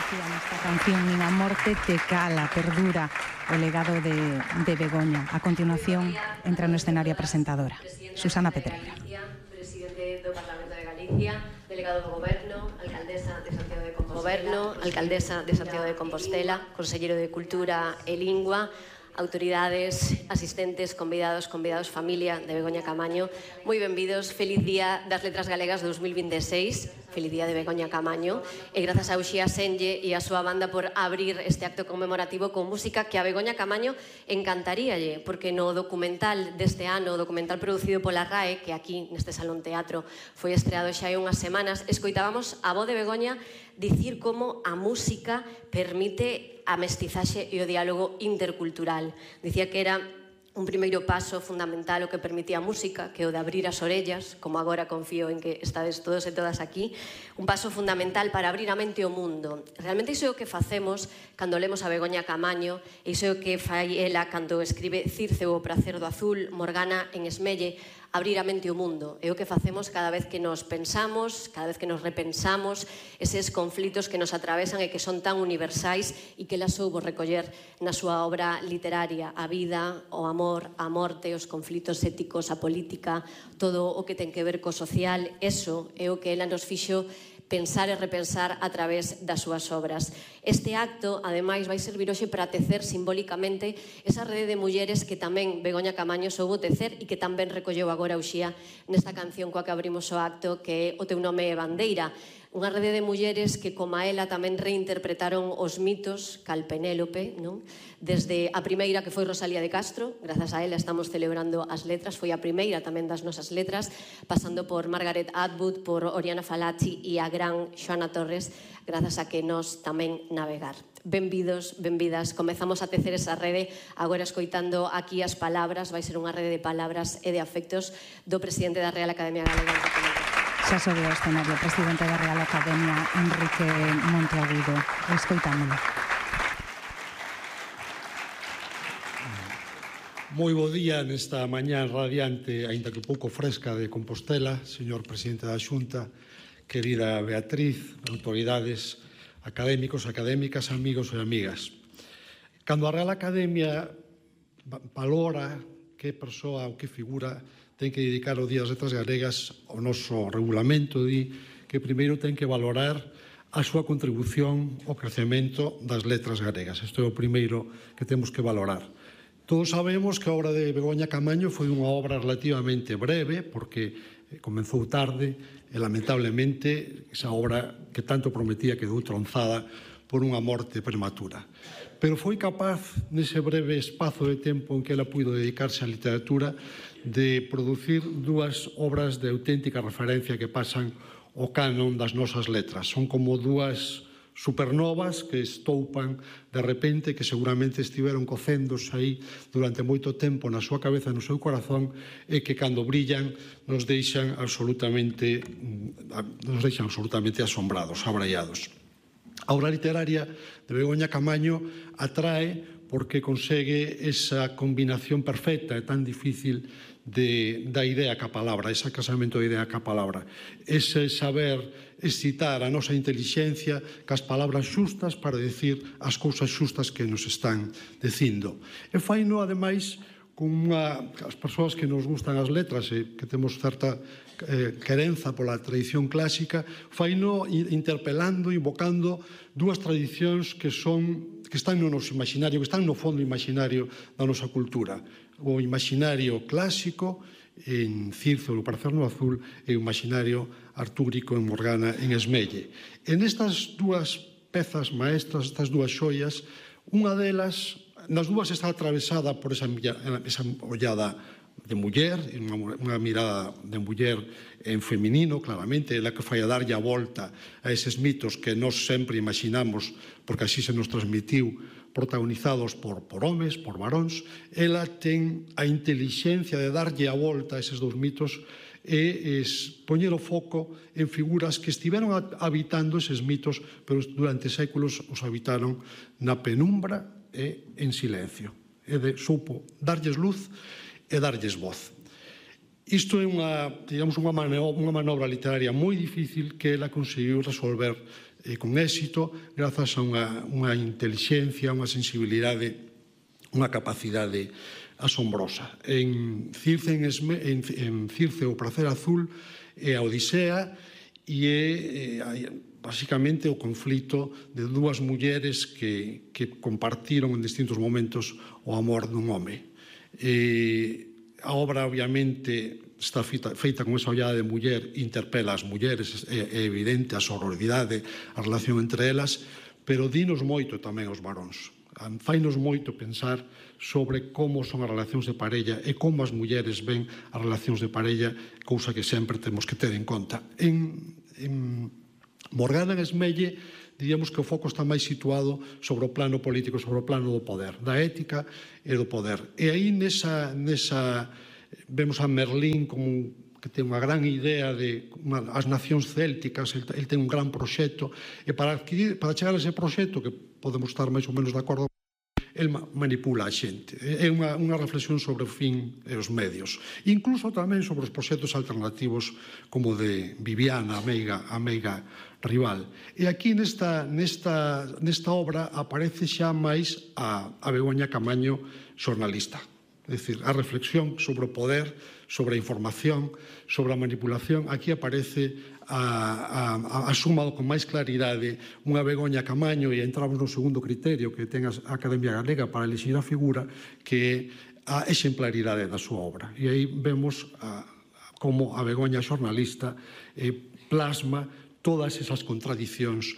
dicía nesta canción, nin a morte te cala, perdura o legado de Begoña. A continuación, entra no escenario a presentadora, Susana Pedreira. Presidente do Parlamento de Galicia, delegado do Goberno, alcaldesa de Santiago de Compostela, conselleiro de Cultura e Lingua, autoridades, asistentes, convidados, familia de Begoña Camaño. Moi benvidos, feliz día das Letras Galegas 2026, feliz día de Begoña Camaño, e grazas a Uxía Senlle e a súa banda por abrir este acto conmemorativo con música que a Begoña Camaño encantaríalle, porque no documental deste ano, o documental producido pola RAE, que aquí neste Salón Teatro foi estreado xa hai unhas semanas, escoitábamos a voz de Begoña dicir como a música permite a mestizaxe e o diálogo intercultural. Dicía que era un primeiro paso fundamental o que permitía a música, que o de abrir as orellas, como agora confío en que estades todos e todas aquí, un paso fundamental para abrir a mente ao mundo. Realmente iso é o que facemos cando lemos a Begoña Camaño, iso é o que fai ela cando escribe Circe o pracer do azul, Morgana en Esmelle, abrir a mente ao mundo. É o que facemos cada vez que nos pensamos, cada vez que nos repensamos eses conflitos que nos atravesan e que son tan universais e que ela soubo recoller na súa obra literaria, a vida, o amor, a morte, os conflitos éticos, a política, todo o que ten que ver co social. Eso é o que ela nos fixo pensar e repensar a través das súas obras. Este acto, ademais, vai servir hoxe para tecer simbólicamente esa rede de mulleres que tamén Begoña Camaño soubo tecer e que tamén recolleu agora Uxía nesta canción coa que abrimos o acto, que é O teu nome é bandeira. Unha rede de mulleres que, como a ela, tamén reinterpretaron os mitos, cal Penélope, non? Desde a primeira, que foi Rosalía de Castro, grazas a ela estamos celebrando as letras, foi a primeira tamén das nosas letras, pasando por Margaret Atwood, por Oriana Fallaci e a gran Xoana Torres, grazas a que nos tamén navegar. Benvidos, benvidas, comezamos a tecer esa rede, agora escoitando aquí as palabras, vai ser unha rede de palabras e de afectos do presidente da Real Academia Galega de Documentación. Xa sobe ao escenario o presidente da Real Academia, Enrique Monteagudo. Escoitámolo. Moi bo día nesta mañá radiante, aínda que pouco fresca, de Compostela, señor presidente da Xunta, querida Beatriz, autoridades, académicos, académicas, amigos e amigas. Cando a Real Academia valora que persoa ou que figura ten que dedicar o Día das Letras Galegas, o noso regulamento di que primeiro ten que valorar a súa contribución ao crecemento das letras galegas. Isto é o primeiro que temos que valorar. Todos sabemos que a obra de Begoña Camaño foi unha obra relativamente breve, porque comenzou tarde e, lamentablemente, esa obra que tanto prometía quedou tronzada por unha morte prematura. Pero foi capaz, nese breve espazo de tempo en que ela puido dedicarse á literatura, de producir dúas obras de auténtica referencia que pasan o canon das nosas letras. Son como dúas supernovas que estoupan de repente, que seguramente estiveron cocéndose aí durante moito tempo na súa cabeza e no seu corazón, e que cando brillan nos deixan absolutamente asombrados, abraiados. A obra literaria de Begoña Camaño atrae porque consegue esa combinación perfecta e tan difícil da idea ca palabra, ese casamento da idea ca palabra, ese saber excitar a nosa intelixencia cas palabras xustas para decir as cousas xustas que nos están dicindo. E faino, ademais, con as persoas que nos gustan as letras e que temos certa querenza pola tradición clásica, faino interpelando, invocando dúas tradicións que están no noso imaginario, que están no fondo imaginario da nosa cultura. O imaginario clásico en Circe o pracer no azul e o imaginario artúrico en Morgana en Esmelle. En estas dúas pezas maestras, estas dúas xoias, unha delas, nas dúas está atravesada por esa ollada de muller, unha mirada de muller en feminino, claramente, ela que fai a darlle a volta a eses mitos que nós sempre imaginamos, porque así se nos transmitiu, protagonizados por homes, por varóns. Ela ten a intelixencia de darlle a volta a eses dous mitos e poñer o foco en figuras que estiveron habitando eses mitos, pero durante séculos os habitaron na penumbra e en silencio. E supo darlles luz e darlles voz. Isto é unha manobra literaria moi difícil que ela conseguiu resolver con éxito grazas a unha inteligencia, unha sensibilidade, unha capacidade asombrosa. En Circe o Prazer Azul é a Odisea e é basicamente o conflito de dúas mulleres que compartiron en distintos momentos o amor dun home. A obra, obviamente, está feita con esa ollada de muller, interpela as mulleres, é evidente a sororidade, a relación entre elas, pero dinos moito tamén aos varóns. Fainos moito pensar sobre como son as relacións de parella e como as mulleres ven as relacións de parella, cousa que sempre temos que ter en conta. En Morgana en Esmelle, diríamos que o foco está máis situado sobre o plano político, sobre o plano do poder, da ética e do poder. E aí vemos a Merlín como que ten unha gran idea de as nacións célticas, el ten un gran proxecto, e para chegar a ese proxecto, que podemos estar máis ou menos de acordo, el manipula a xente. É unha reflexión sobre o fin e os medios. Incluso tamén sobre os proxectos alternativos como de Viviana, a meiga rival. E aquí nesta obra aparece xa máis a Begoña Camaño xornalista. É dicir, a reflexión sobre o poder, sobre a información, sobre a manipulación. Aquí aparece a suma con máis claridade unha Begoña Camaño, e entramos no segundo criterio que ten a Academia Galega para elixir a figura, que é a exemplaridade da súa obra. E aí vemos como a Begoña xornalista plasma todas esas contradicións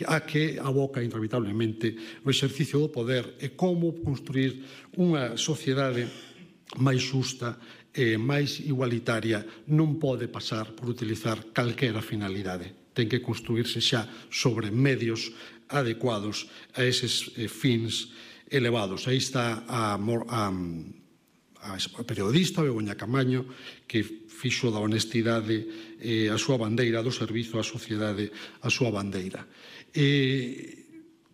a que aboca inevitablemente o exercicio do poder e como construir unha sociedade máis xusta e máis igualitaria non pode pasar por utilizar calquera finalidade. Ten que construirse xa sobre medios adecuados a eses fins elevados. Aí está a periodista Begoña Camaño, que fixo da honestidade a súa bandeira, do servizo á sociedade a súa bandeira.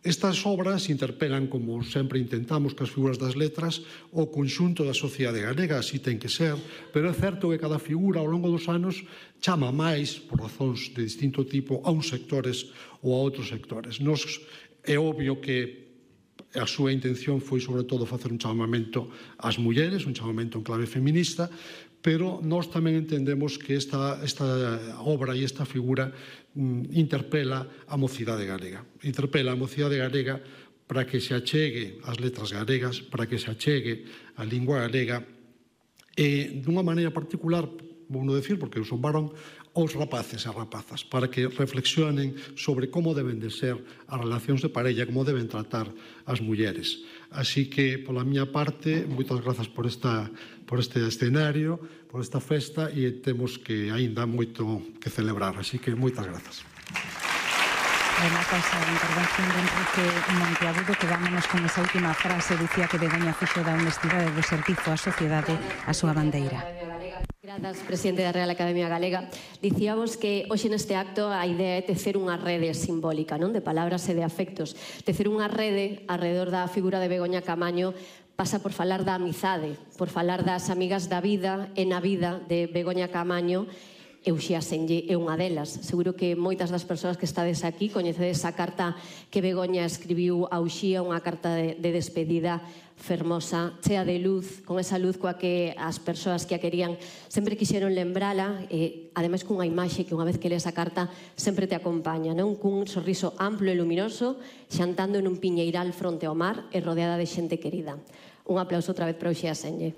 Estas obras interpelan, como sempre intentamos que as figuras das letras, o conxunto da sociedade galega, así ten que ser, pero é certo que cada figura ao longo dos anos chama máis, por razóns de distinto tipo, a uns sectores ou a outros sectores. É obvio que a súa intención foi, sobre todo, facer un chamamento ás mulleres, un chamamento en clave feminista, pero nós tamén entendemos que esta obra e esta figura interpela a mocidade galega. Interpela a mocidade galega para que se achegue as letras galegas, para que se achegue a lingua galega, e dunha maneira particular, vou non decir porque eu son varón, aos rapaces e rapazas, para que reflexionen sobre como deben de ser as relacións de parella, como deben tratar as mulleres. Así que, pola miña parte, moitas grazas por este escenario, por esta festa, e temos que aínda moito que celebrar. Así que, moitas grazas. Remata esa intervención de Enrique Monteagudo, quedámonos con esa última frase, dicía que Begoña fixo da honestidade do servizo á sociedade a súa bandeira. Grazas, presidente da Real Academia Galega. Dicíamos que hoxe neste acto a idea é tecer unha rede simbólica, non, de palabras e de afectos. Tecer unha rede alrededor da figura de Begoña Camaño pasa por falar da amizade, por falar das amigas da vida e na vida de Begoña Camaño. Uxía Senlle é unha delas. Seguro que moitas das persoas que estades aquí coñecedes a carta que Begoña escribiu a Uxía, unha carta de despedida fermosa, chea de luz, con esa luz coa que as persoas que a querían sempre quixeron lembrala, e ademais cunha imaxe que unha vez que lees a carta sempre te acompaña, non? Cun sorriso amplo e luminoso, xantando en un piñeiral fronte ao mar e rodeada de xente querida. Un aplauso outra vez para Uxía Senlle.